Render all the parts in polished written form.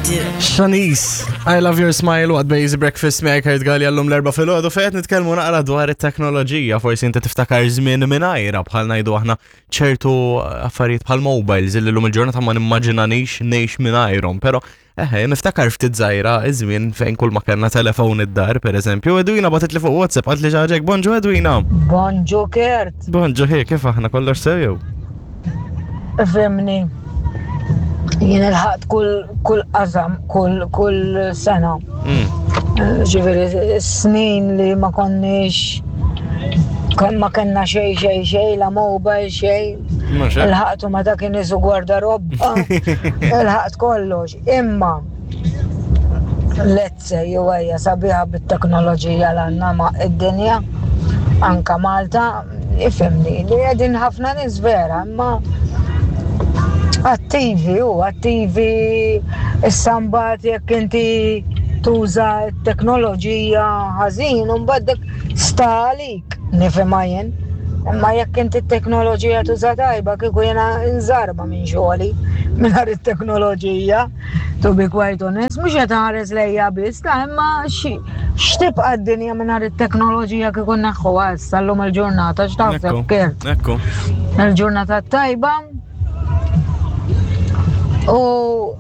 do. Shanice, I love your smile waqt Basic Breakfast miegħek Kurt Galli għallum l-erba' filgħodu fejn qed nitkellmu naqra dwar it-teknoloġija, forsi inti tiftakar żmien mingħajra bħal ngħidu aħna ċertu affarijiet bħal mobiles illi llum il-ġurnata ma nimmaġinanix ngħix mingħajrhom, però eħe niftakar ftit żgħira iż-żmien fejn kull ma kellna telefon id-dar pereżempju. Edwina bagħtet li fuq WhatsApp qalt li xi ħaġa hekk, Bonġu Edwina. Bonġu Kurt. Bonġu hi, kif aħna kollox sew jew? Ifhimni, jien ilħaqt kull kull qasam, kull kull sena. Mm. Ġifieri snin li ma konniex ma kellna xejn xejn xejn la mobile xejn. Ilħaqtu meta kien isu gwardarobba. Ilħaqt kollox. Imma let's say jew ejja sabiħa bit-teknoloġija l għandna ma' id-dinja anka Malta ifhimni li qegħdin ħafna nies vera imma attivi u attivi issa mbagħad jekk inti tuża t-teknoloġija ħażin u mbagħad dik sta għalik nifhimha jien. Imma jekk inti t-teknoloġija tuża tajba kieku jiena nżarma minn xogħli mingħajr it-teknoloġija. To be quite honest, mhux qed ħares lejja biss, ta' imma x'tibqa' d-dinja mingħajr it-teknoloġija kieku neħħuha issa llum il-ġurnata x'taħseb Kurt? Ekku. Il-ġurnata tajba u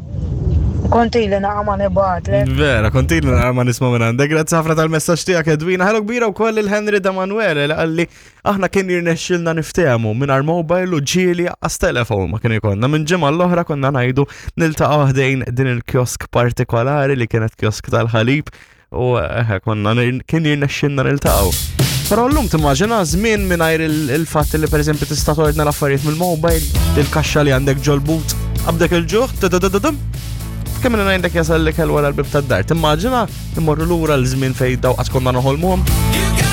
kontili naqa ma nibatlek. Vera, kontili naqa ma nisma minn għandek. Grazzi ħafna tal-messaġġ tiegħek Edwina. Ħelu kbira wkoll il-Henry Damanuele li qalli Aħna kien jirnexxilna niftehmu mingħajr mobile u ġieli għas telefon ma kien ikollna. Minn ġimgħa l-oħra konna ngħidu niltaqgħu ħdejn din il-kiosk partikolari li kienet kiosk tal-ħalib u eh, konna kien jirnexxilna niltaqgħu. Però llum timmaġina żmien mingħajr il-fatt li pereżempju tista' tordna l-affarijiet mill-mobile, il-kaxxa li għandek ġol-but, qabdek il-ġuħ, kemm ngħidlek jasal l-ikel wara l-bib tad-dar. Timmaġina immorru lura l-żmien fejn daw qatt konna noħolmuhom.